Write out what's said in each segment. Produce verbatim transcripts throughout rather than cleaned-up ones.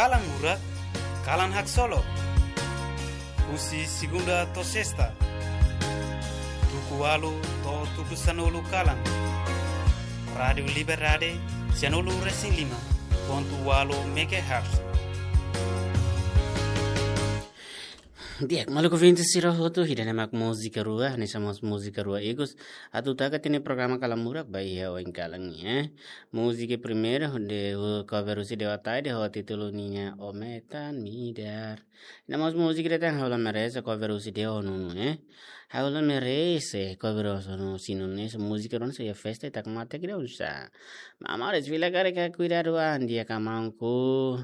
Kalan Murak, kalan haksolok. Husi segunda to'o sesta, tuku ualu to'o tuku sanulu kalan. Rádiu Liberdade, sianulu resin lima pontu ualu megahertz. Di'ak, maluk ouvinte sira hotu, ida-ne'e mak múzika rua, hanesan mós múzika rua ikus atu taka tiha ona programa Kalan Murak ba iha oin kalan ne'e. Múzika primeiru de, uh, cover husi Dewa Taide ho títulu nian O Metan Midar. Ida mós múzika ida tan, Ha'u La Merese, cover husi Dewa Nunu, eh. Ha'u La Merese, cover husi Nunu, sinu ne'e, so múzika rua ne'e so iha festa ita kmate kira usa. Mama, ora fila karik kuidadu an, di'ak amangku.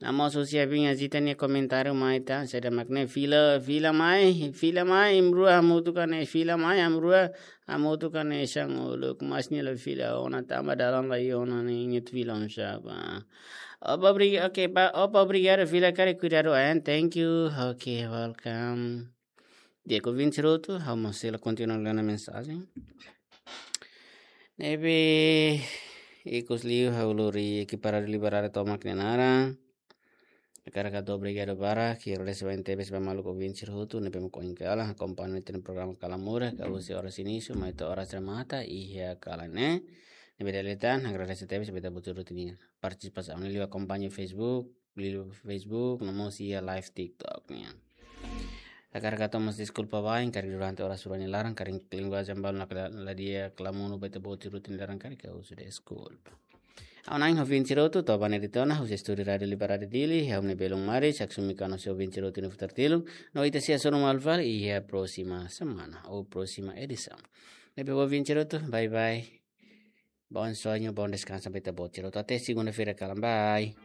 Amos husi abinha zita nia komentáriu mai tan, saida mak ne'e, fila, fila mai, fila mai, amrua hamutuk ka ne'e, fila mai, amrua hamutuk ka ne'e, sang uluk, mas nia la fila ona, tanba dalan la iha ona ne'e, ingat fila on saba. Opa, obri-, oke, pa, opa, obrigadu, fila karik kuidadu an, thank you, oke, welcome. Di'ak ouvinte sira hotu, ha'u mós sei la kontinua lee ona mensajen. Ne'ebé, ikus liu ha'u lori ekipa Rádiu Liberdade tomak nia naran. Hakarak hato'o obrigadu barak, hakarak agradese barak tebes ba maluk ouvinte sira hotu, ne'ebé mak oin kalan akompaña ita-nia programa Kalan Murak, husi oras inísiu, mai to'o oras remata, iha kalan ne'e. Ne'ebé dala ida tan, agradese tebes ba ita-boot sira hotu nia partisipasaun, liuliu akompaña Facebook, liuliu Facebook, no mós iha live TikTok nian. Hakarak hato'o mós deskulpa ba, karik durante oras rua nia laran, karik linguajen balu nakla-, la di'ak, la monu ba ita-boot sira hotu nia laran karik ha'u husu deskulpa. Ha'u-nia naran ouvinte sira hotu, to'o ba ne'e de'it ona, husi estúdiu Rádiu Liberdade Dili, ha'u-nia belun Mari, Jackson Mika no sei ouvinte sira hotu nia futar tilun, no ita sei hasoru malu fali iha próxima semana, ou próxima edição. Ne'ebé ouvinte sira hotu, bye bye. Bom sonho, bom descanso ba ita-boot sira hotu. Até segunda-feira, kalan, bye.